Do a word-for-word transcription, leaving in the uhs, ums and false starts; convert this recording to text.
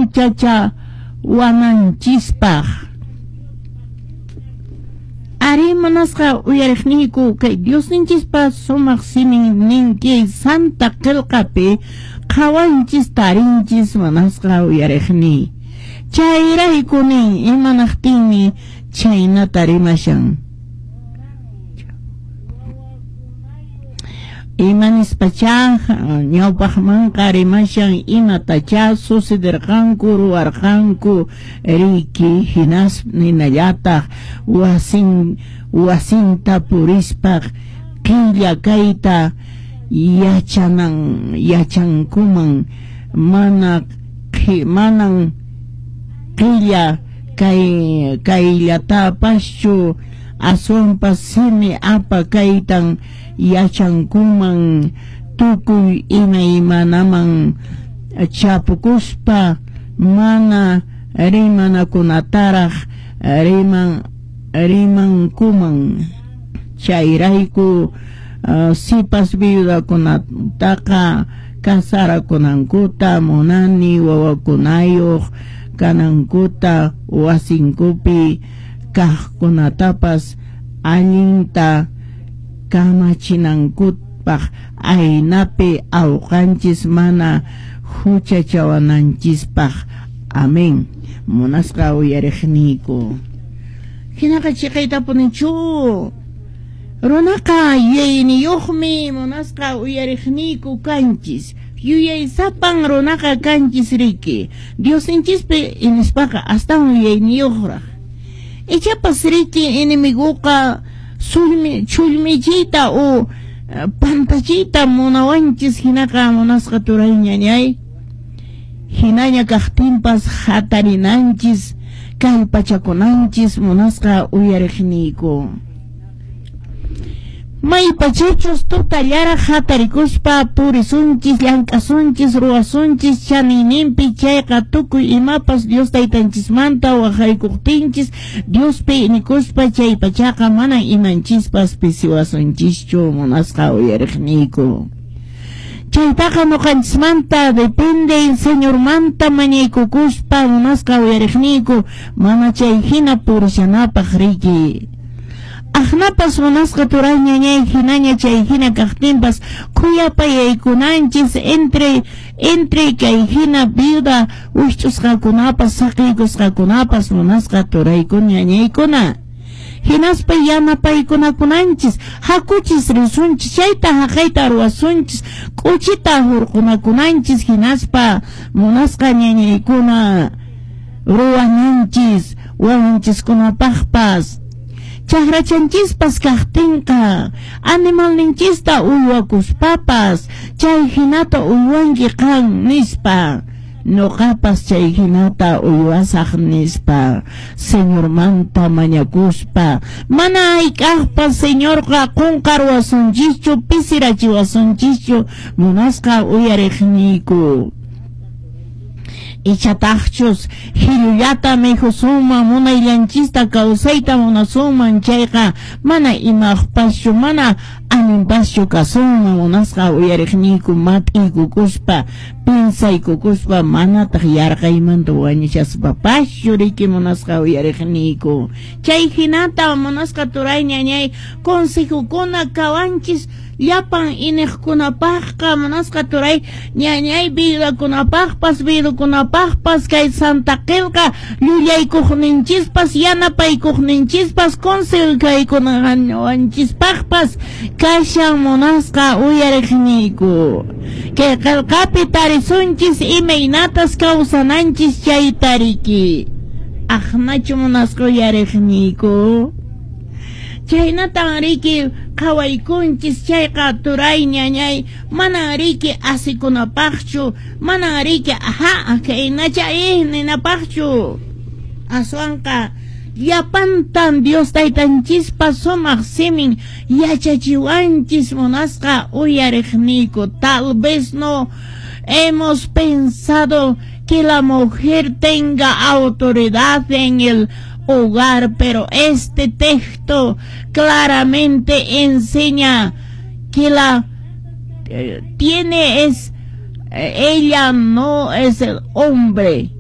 Huchachawananchispaq. Ari munasqa uyariqniyku, kay Diosninchispa sumaq simin ninki Santa Qillqapi qhawanchis tarinchis munasqa uyariqniy. Chayrayku nin, imanaqtinmi chhaynata rimashan. Imanispacha ñawpaqmanqa rimashan imatachá sucederqanku ruwarqanku riki hinas hinallataq wasin wasinta purispaq qilla kayta yachanan yachankuman mana manan qilla kay kayllatapachu aswanpas simi apa kaytan yachankuman tukuy imaymanaman chapukuspa mana rimanakunataraq riman rimankuman. Chayrayku uh, sipas viudakunataqa kasarakunankuta munani wawakunayuq kanankuta wasinkupi kaqkunatapas allinta kamachinankupaq aynapi awqanchis mana huchachawananchispaq. Amén. Munasqa uyariqniyku. Hinaqa chiqaytapunichu runaqa yuyayniyuqmi munasqa uyariqniyku kanchis. Yuyaysapan runaqa kanchis riki. Diosninchispi inispaqa astawan yuyayniyuqraq. Ichapas riki enemiguqa sulmi chulmichita o pantachita munawanchis hinaqa munasqa turay ñañay. Hinaña kaqtinpas hatarinanchis kallpachakunanchis munasqa uyariqniyku. Maypachachus tutallaraq hatarikuspa purisunchis llank'asunchis ruwasunchis chaniyninpi chayqa tukuy imapas Dios taytanchismanta waqaykuqtinchis Diospi inikuspa chay pachaqa mana imanchispas pisiwasunchischu munasqa uyariqniyku. Chaytaqa ñuqanchismanta depende Señormanta mañaykukuspa munasqa uyariqniyku mana chay hina purishanapaq riki. Aqnapas munasqa turay ñañay hinaña chay hina kaqtinpas khuyapayaykunanchis entre entre kay hina viuda wikch'usqakunapas saqiykusqakunapas munasqa turaykuna ñañaykuna. Hinaspa yanapaykunakunanchis hakuchis risunchis chayta haqayta ruwasunchis k'uchita hurqunakunanchis hinaspa munasqa ñañaykuna ruwananchis wawanchiskunapaqpas. Chakrachanchispas kaqtinqa animalninchista uywakuspapas chay hinata uywanki qan nispa ñuqapas chay hinata uywasaq nispa Señormanta mañakuspa mana hayk'aqpas Señorqa qunqarwasunchischu pisirachiwasunchischu munasqa uyariqniyku. Ichataqchus hillullata mikhusunman munayllanchista kawsayta munasunman chayqa mana imaqpaschu mana allinpaschu kasunman munasqa uyariqniyku mat'iykukuspa pinsaykukuspa manataq yarqaymanta wañuchaspapaschu riki munasqa uyariqniyku. Chay hinata munasqa turay ñañay consejukuna kawanchis llapan iniqkunapaqqa munasqa turay ñañay viudakunapaqpas viudakunapaqpas kay Santa Qillqa llullaykuqninchispas yanapaykuqninchispas consejaykunawanchispaqpas kashan munasqa uyariqniyku. Kay qillqapi tarisunchis imaynatas kawsananchis chayta riki. Aqnachu munasqa uyariqniyku. Chaynatan riki qhawaykunchis chayqa turay ñañay manan riki asikunapaqchu manan riki aha kaynacha ih ninapaqchu. Aswanqa llapantan Dios taytanchispa sumaq simin yachachiwanchis munasqa uyariqniyku. Tal vez no hemos pensado que la mujer tenga autoridad en el hogar, pero este texto claramente enseña que la eh, tiene es eh, ella no es el hombre.